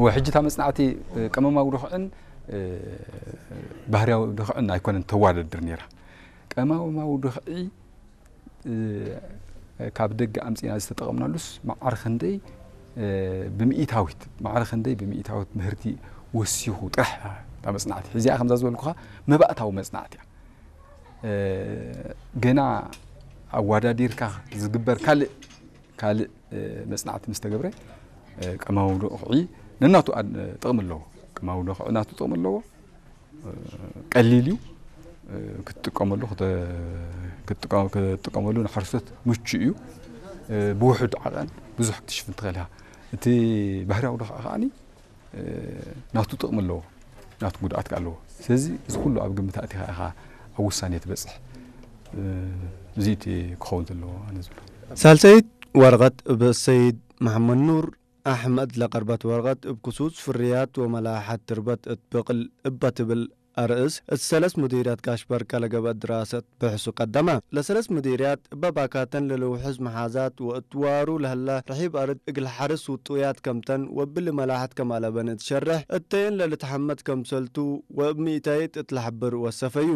ወሕጂ እታ መጽናዕቲ ቀመማዊ ድኽዕን ባህርያዊ ድኽዕን ኣይኮነን ተዋደድር ነይራ። ቀመማዊ ድኽዒ ካብ ደገ ኣምጺና ዝተጠቐምናሉስ ማዕር ክንደይ ብምኢታዊት ማዕር ክንደይ ብምኢታዊት ምህርቲ ወሲኹ ጥራሕ እታ መጽናዕቲ ሕዚኣ ከምዛ ዝበልኩኻ መባእታዊ መጽናዕቲ እያ። ገና ኣዋዳዲርካ ዝግበር ካልእ ካልእ መጽናዕቲ ምስ ተገብረ ቀማዊ ዶኽዒ ነናቱ ጥቕሚ ኣለዎ። ቀማዊ ዶኽዒ ናቱ ጥቕሚ ኣለዎ። ቀሊል እዩ ክትጥቀመሉ ክትጥቀመሉ ንሓረስቶት ምቹ እዩ። ብውሑድ ዓቐን ብዙሕ ክትሽፍን ትኽእል ኢኻ። እቲ ባህርያዊ ዶኽዒ ከዓኒ ናቱ ጥቕሚ ኣለዎ፣ ናቱ ጉድኣት ከ ኣለዎ። ስለዚ እዚ ኩሉ ኣብ ግምት ኣእቲኻ ኢኻ ኣብ ውሳኔ ትበጽሕ። እዚ እቲ ክኸውን ዘለዎ ኣነ ዝብሎ። ሳልሰይት ወረቐት ብሰይድ መሓመድ ኑር ኣሕመድ ለቐርበት ወረቐት እብ ክሱስ ፍርያት ወመላሓት ትርበት እትብቕል እባ ትብል ኣርእስ እት ሰለስ ሙዲርያት ጋሽ በርቀ ለገበእ ድራሰት ብሕሱ ቀደመ። ለሰለስ ሙዲርያት እበ ባካተን ለልውሕዝ መሓዛት ወእትዋሩ ለህለ ርሒብ ኣርድ እግል ሓርስ ውጡያት ከምተን ወብሊ መላሕት ከማለበን እትሸርሕ እተየን ለልትሐመድ ከምሰልቱ ወእብ ሚእታይት እት ለሐብር ወሰፈዩ።